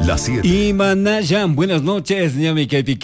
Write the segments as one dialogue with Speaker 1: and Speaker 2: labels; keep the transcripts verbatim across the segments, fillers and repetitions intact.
Speaker 1: Las siete.
Speaker 2: Imanayan, buenas noches, ñami kaypi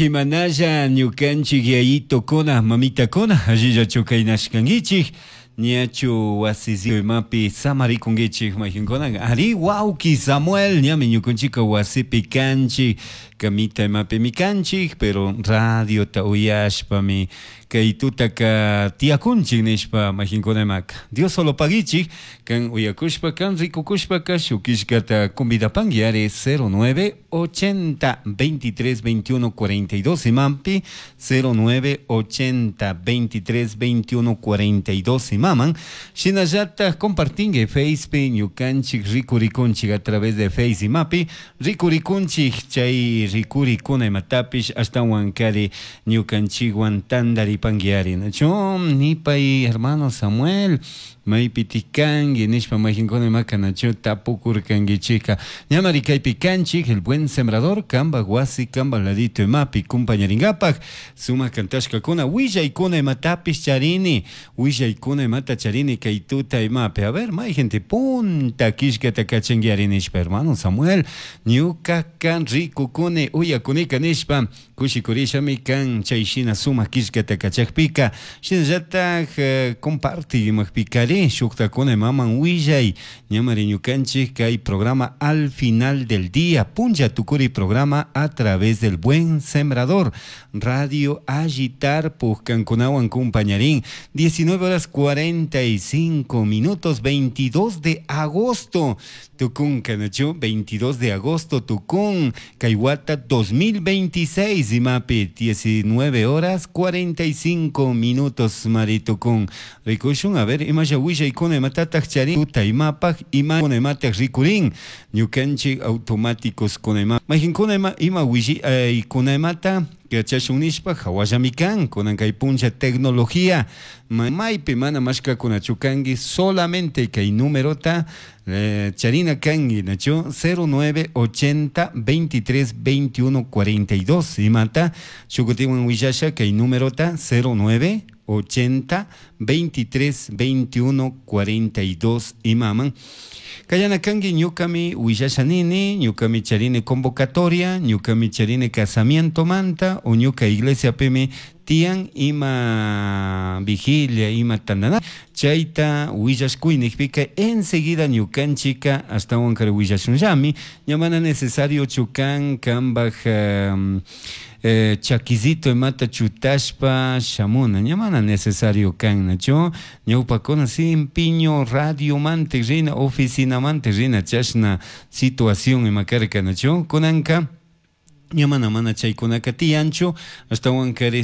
Speaker 2: Imanayan, ñukanchik yayitokuna, mamitakuna, allillachu kaynashkankichik, ñachu wasisi imapi samarikunkichik mayqinkuna, ari wawki Samuel, ñami ñukanchika wasipi kanchik, kamita imapimi kanchik, pero radiota uyashpami kay tutaka tiyakunchik nishpa mayqinkuna imaka. Dios solo paguichik, kan uyakushpa, kan rikukushpaka shukishkata convidapanki ari cero nueve ochenta veintitrés veintiuno cuarenta y dos imampi, cero nueve ochenta veintitrés veintiuno cuarenta y dos imaman. Shinallataj compartingue Facebook, ñukanchik rikurikunchik a través de Face imapi rikurikunchik, chay rikurikuna imatapish ashtawan kari ñukanchikwan tandaripanki ari, nachu? Nipay hermano Samuel, maypitik kanki nishpa mayqinkuna imaka, nachu, tapukurkankichika. Ñamari kaypi kanchik, El Buen Sembrador, kambak wasi, kambak ladito imapi kumpañarinkapak, sumak kantashkakuna, willaykuna imatapish charini, willaykuna imata charini kay tuta imapi. A ver, mayjinti punta killkata kachanki ari nishpa, hermano Samuel, ñuka kan rikukuni, uyakunika nishpa kushikurishami kan chay shina sumak killkata kachakpika. Shinallatak eh, comparti imajpikari shuktakuna imaman willay. Ñamari ñukanchik kay programa Al Final del Día, punlla tukuri programa a través del Buen Sembrador Radio Agitar kankunawan kumpañarin. diecinueve horas cuarenta y cinco minutos, veintidós de agosto tukun kanachu, veintidós de agosto tukun kay wata dos mil veintiséis imapi, diecinueve horas cuarenta y cinco minutos maritukun. Rikushun, a ver, imasha willaykuna imatataq charin tuta imapaq, ima imataq rikurin ñukanchik automáticos kuna ima mayqinkuna ima ima willaykuna imata yachashun nishpa hawallami kan. Kunan kay puncha tecnología maypi mana mashkakunachu kanki, solamente kay numerota eh, charina kanki, nachu? cero nueve ochenta veintitrés veintiuno cuarenta y dos imata. Shukutiwan willasha kay numerota: cero nueve ochenta veintitrés veintiuno cuarenta y dos imaman. Kayana kanki, ñukami willasha nini, ñukami charini convocatoria, ñukami charini casamiento manta o ñuka iglesia pimi tiyan ima vigilia, ima tandana, chayta willashkuy nijpika enseguida ñukanchika ashtawan kari willashunllami. Ña mana necesario chukan kambaj um, eh, chakisito imata chutashpa shamuna, ña mana necesario kan, nachu? Ñawpakuna simpiño radio mante rina, oficina mante rina, chashna situación ima karka, nachu? Kunanka ña mana mana chaykunaka tiyanchu, ashtawan kari.